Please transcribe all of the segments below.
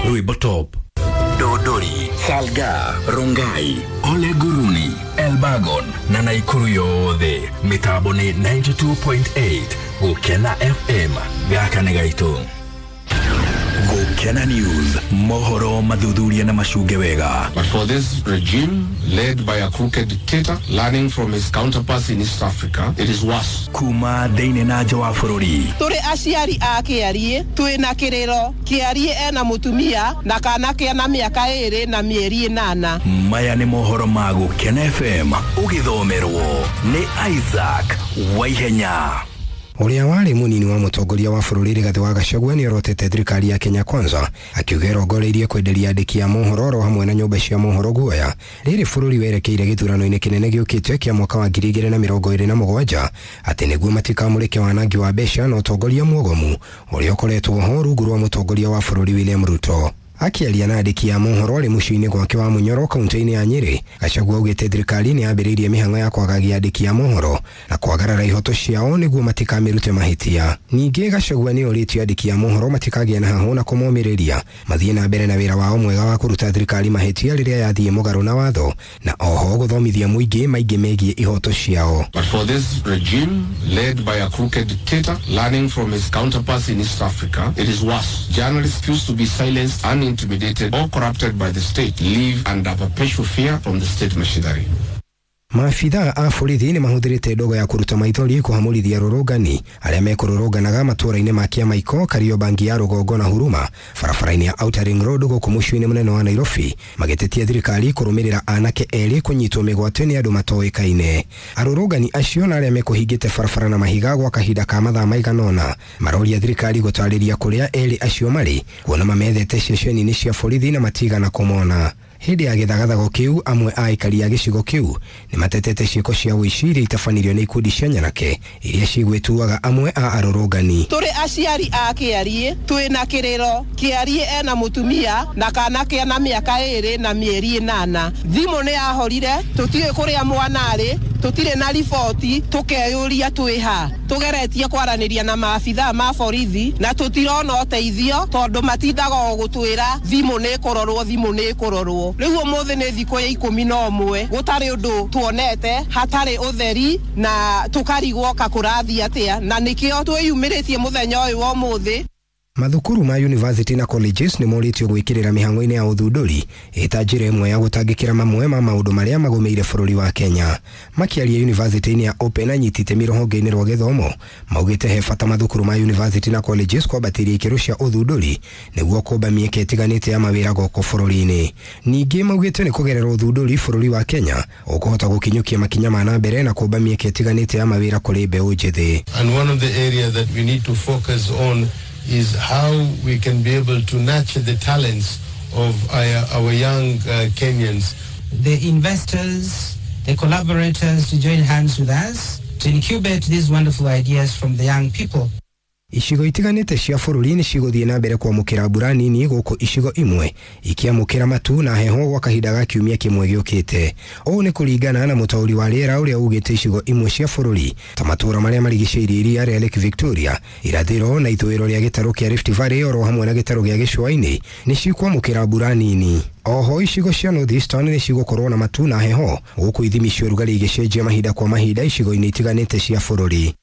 Rwĩmbo top. Dodori, Salga, Rongai, Ole Guruni, Elbagon na Naikuru yothe mitambo ni 92.8 Gukena FM gaka nĩ gaitũ. Gukena News, mohoro mathuthuria na macunge wega. But for this regime, led by a crooked dictator, learning from his counterparts in East Africa, it is worse. Kuma thĩinĩ na nja wa bũrũri. Tũrĩ aciari a Kĩariĩ twĩna kĩrĩro. Kĩariĩ ena mũtumia na kana kena mĩaka 2 na mĩeri 8. Maya nĩ mohoro ma Gukena FM ũgĩthomerwo nĩ Isaac Waihenya. Ũrĩa warĩ mũnini wa mũtongoria wa bũrũri Rigathĩ wa Gachagua nĩorotete thirikari ya Kenya Kwanza akiuga ĩrongoreirie kwenderia andĩki a mohoro oro hamwe na nyũmba cia mohoro guoya rĩrĩ bũrũri werekeire gĩthurano-inĩ kĩnene gĩũkĩte kĩa mwaka wa 2027 atĩ nĩguo matikamũrĩke wanangi wa mbeca na ũtongoria mwogomu ũrĩa ũkoretwo ho rungu rwa mũtongoria wa bũrũri William Ruto. Akĩaria na andĩki a mohoro arĩ mũciĩ-inĩ gwake wa Munyoro kaunti-inĩ ya Nyĩrĩ, Gachagua augĩte thirikari nĩ yambĩrĩirie mĩhang'o ya kwagagia andĩki a mohoro na kwagarara ihoto ciao nĩguo matikamĩrute mahĩtia. Ningĩ Gachagua nĩ orĩtie andĩki a mohoro matikagĩe na hahũ na kũmomĩrĩria mathiĩ na mbere na wĩra wao mwega wa kũruta thirikari mahĩtia rĩrĩa yathiĩ mũgarũ na watho na oho gũthomithia mũingĩ maingĩ megiĩ ihoto ciao. But for this regime, led by a crooked dictator, learning from his counterparts in East Africa, it is worse. Journalists refuse to be silenced and intimidated or corrupted by the state, live under perpetual fear from the state machinery. Maabithaa a borithi nĩ mahũthĩrĩte ndogo ya kũruta maithori kũhamũrithia arũrũngani arĩa mekũrũrũnganaga matũũra-inĩ ma Kĩamaiko, Kariobangi ya Rũgongo na Huruma barabara-inĩ ya Outer Ring Road gũkũ mũciĩ-inĩ mũnene wa Nairobi magĩtetia thirikari kũrũmĩrĩra anake erĩ kũnyitwo mĩgwate nĩ andũ matoĩkaine. Arũrũngani acio na arĩa mekũhingĩte barabara na mahiga gwa kahinda ka mathaa maigana ũna maroria thirikari gũtarĩria kũrĩa erĩ acio marĩ kuona mamethete ceceni-inĩ cia borithi na matigana kũmona. Hĩndĩ ya gĩthagathago kĩu amwe a aikari a gĩcigo kĩu nĩ matetete ciĩko cia ũici iria itabanĩrio nĩ ikundi cia nyanake iria cigwĩtuaga amwe a arũrũngani. Tũrĩ aciari a Kĩariĩ twĩna kĩrĩro. Kĩariĩ ena mũtumia na kana kena mĩaka 2 na mĩeri 8. Thimũ nĩ yahorire, tũtiũĩ kũrĩa mwana arĩ, tũtirĩ na riboti, tũkeyũria twĩ ha. Tũgeretie kwaranĩria na maabithaa ma borithi na tũtirona ũteithio tondũ matindaga o gũtwĩra thimũ nĩ ĩkũrorwo, thimũ nĩ ĩkũrorwo. Rĩu ũmũthĩ nĩ thikũ ya 11 gũtarĩ ũndũ tuonete, hatarĩ ũtheri na tũkarigwo ka kũrathiĩ atĩa, na nĩkĩo twĩyumĩrĩtie mũthenya ũyũ wa ũmũthĩ. Mathukuru ma university na colleges nĩ morĩtio gwĩkĩrĩra mĩhang'o-inĩ ya ũthundũri ĩta njĩra ĩmwe ya gũtangĩkĩra mamwe ma maũndũ marĩa magũmĩire bũrũri wa Kenya. Makĩaria university-inĩ ya Open anyiti itemi rũhonge-inĩ rwa gĩthomo maugĩte he bata mathukuru ma university na colleges kwambatĩria ikĩro cia ũthundũri nĩguo kũmba mĩeke ĩtiganĩte ya mawĩra gũkũ bũrũri-inĩ. Ningĩ maugĩte nĩ kũgerera ũthundũri bũrũri wa Kenya ũkũhota gũkinyũkia makinya ma na mbere na kũmba mĩeke ĩtiganĩte ya mawĩra kũrĩ mbeũ njĩthĩ. And one of the areas that we need to focus on is how we can be able to nurture the talents of our young Kenyans. The investors, the collaborators to join hands with us to incubate these wonderful ideas from the young people. Icigo itiganĩte cia bũrũri nĩ cigũthiĩ na mbere kwamũkĩra mbura nini gũkũ icigo imwe ikiamũkĩra matu na heho gwa kahinda ga kiumia kĩmwe gĩũkĩte. Ũũ nĩ kũringana na mũtaũri wa rĩera ũrĩa ugĩte icigo imwe cia bũrũri ta matũũra marĩa marigicĩirie iria rĩa Lake Victoria, irathĩro na ithũĩro rĩa gĩtarũ kĩa Rift Valley oro hamwe na gĩtarũ gĩa gĩcũa-inĩ nĩ cikwamũkĩra mbura nini. Oho icigo cia North Eastern nĩ cigũkorwo na matu na heho gũkũ ithimi cia ũrugarĩ igĩcenjia mahinda kwa mahinda icigo-inĩ itiganĩte cia bũrũri.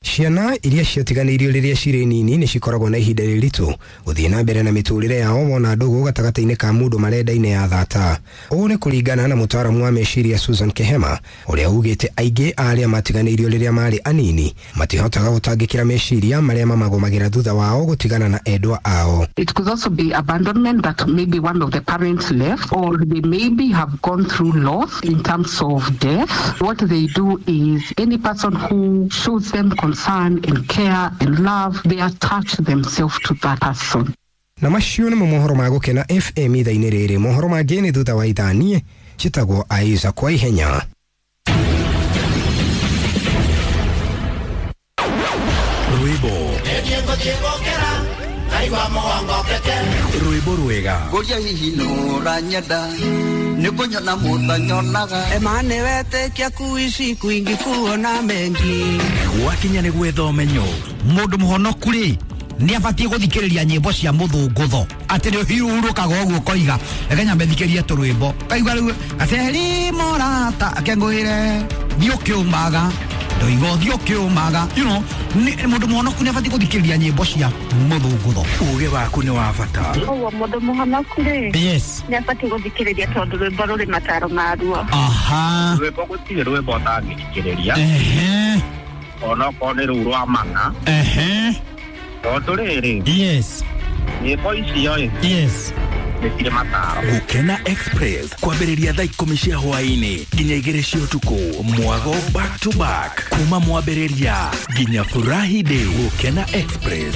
Ciana iria ciatiganĩirio rĩrĩa cirĩ nini nĩ cikoragwo na ihinda rĩritũ gũthiĩ na mbere na mĩtũrĩre yao wona ndũgũ gatagatĩ-inĩ ka mũndũ marendaine ya thata. Ũũ nĩ kũringana na mũtaaramu wa meciria Susan Kehema ũrĩa ugĩte aingĩ a arĩa matiganĩirio rĩrĩa marĩ anini matihotaga gũtangĩkĩra meciria marĩa mamagũmagĩra thutha wao gũtigana na endwa ao. It could also be abandonment that maybe one of the parents left, or they maybe have gone through loss in terms of death. What they do is any person who shows them concern and care and love, they attach themselves to that person. Na macio nĩmo mohoro ma Gũkena FM ithaa-inĩ rĩrĩ. Mohoro mangĩ nĩ thutha wa ithaa. Niĩ njĩtagwo Isaac kwa ihenya. Rwĩmbo rwĩmbo rwega Ngũria hihi nũranyenda nĩkũnyona mũtanyonaga Emane wetĩkia kuishi kwingi kuona mengi gwakinya nĩ gwetha ũmenyo Mũndũ mũhonoku rĩ Nĩ abatiĩ gũthikĩrĩria nyĩmbo cia mũthũngũtho, atĩ nĩ ũhurũkaga ũguo ũkoiga reke nyambe thikĩrie tũrwĩmbo, kaigua rĩu gaceri morata akengũĩre thiĩ ũkĩũmaga ndoiga ũthiĩ ũkĩũmaga, you know, mũndũ mũhonoku nĩ abatiĩ gũthikĩrĩria nyĩmbo cia mũthũngũtho. Uge waku nĩ wa bata. Ũguo mũndũ mũhonoku rĩ, yes, nĩ abatiĩ gũthikĩrĩria tondũ rwĩmbo rũrĩ mataro maruo. Aha. Rwĩmbo gũtirĩ rwĩmbo ũtangĩthikĩrĩria. Ehe. Onokorwo nĩ rũu rwa mana. Ehe. Tondũ rĩrĩ, yes, nyĩmbo icio ĩ, yes, nĩ cirĩ mataro. Gũkena Express kwambĩrĩria thaa 10 cia hwaĩ-inĩ nginya 2 cia ũtukũ, mwago back to back kuma mwambĩrĩria nginya furahi day. Gũkena Express.